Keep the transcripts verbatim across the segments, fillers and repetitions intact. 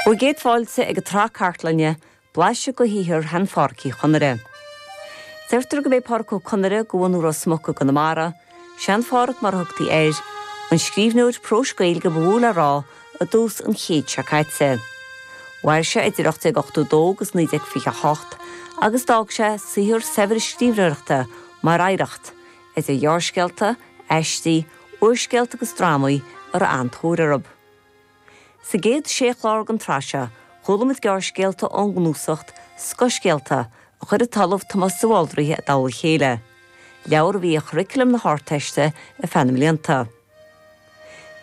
Bhur gcéad fáilte ag an tsraith cartlainne blaiseadh de shaothar shean Phádhraic Uí Chonaire. Deirtear gurb é Pádraic Ó Conaire de bhunadh Ros Muc i gConamara, Sean-Phádhraic mar a thugtaí air, an scríbhneoir próis Gaeilge ba mhó le rá i dtús an chéid seo caite. Mhair sé idir ocht déag ochtó dó agus naoi déag fiche hocht agus d'fhág sé saothar saibhir scríbhneoireachta mar oidhreacht, idir ghearrscéalta, aistí, úrscéalta agus drámaí a raibh an-tóir orthu. Sa gcéad sé chlár den tsraith seo, chuala muid gearrscéalta ón gcnuasach Scothscéalta a chuir an tOllamh Tomás de Bhaldraithe i dtoll a chéile. Leabhar a bhí i gcuraclam na hArdteiste ar feadh na mblianta.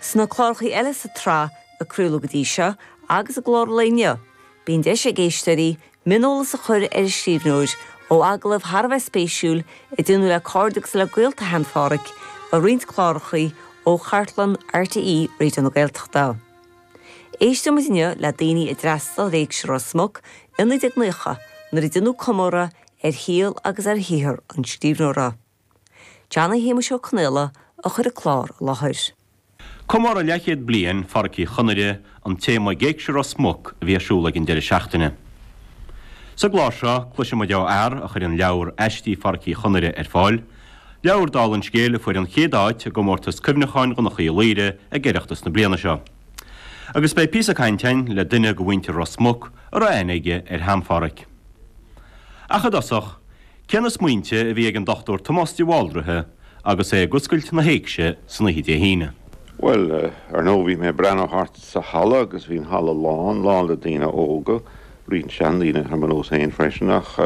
Sna cláracha eile sa tsraith a craoladh go dtí seo agus i gclár an lae inniu, bíonn deis ag éisteoirí mioneolas a chur ar an scríbhneoir ó agallaimh thar a bheith spéisiúil a déanadh le cairde agus le gaolta shean-Phádhraic i roinnt cláracha ó chartlann RTÉ Raidió na Gaeltachta. Éistfimid inniu le daoine a d'fhreastail ar Éigse Ros Muc i naoi déag naocha nuair a déanadh comóradh ar shaol agus ar shaothar an scríbhneora. Johnny Shéamuis Ó Conaola a chuir an clár i láthair. Comóradh leathchéad bliain Phádraic Uí Chonaire an téama ag Éigse Ros Muc a bhí ar siúl ag an deireadh seachtaine. Sa gclár seo cloisfimid ó fhear a chuir an leabhar Aistí Phádraic Uí Chonaire ar fáil, leabhar dála an scéil a fuair an chéad áit i gcomórtas cuimhneacháin Dhonncha Uí Laoire ag Oireachtas na bliana seo. Agus beidh píosa cainte againn le duine de mhuintir Ros Muc a raibh aithne aige ar shean-Phádhraic. Ach i dtosach, cé na smaointe a bhí ag an Dr Tomás de Bhaldraithe agus é ag oscailt na héigse san oíche Dé hAoine. Well, ar ndóigh bhí mé ag breathnú thart sa halla agus bhí an halla lán lán le daoine óga, roinnt seandaoine ar mo nós féin freisin ach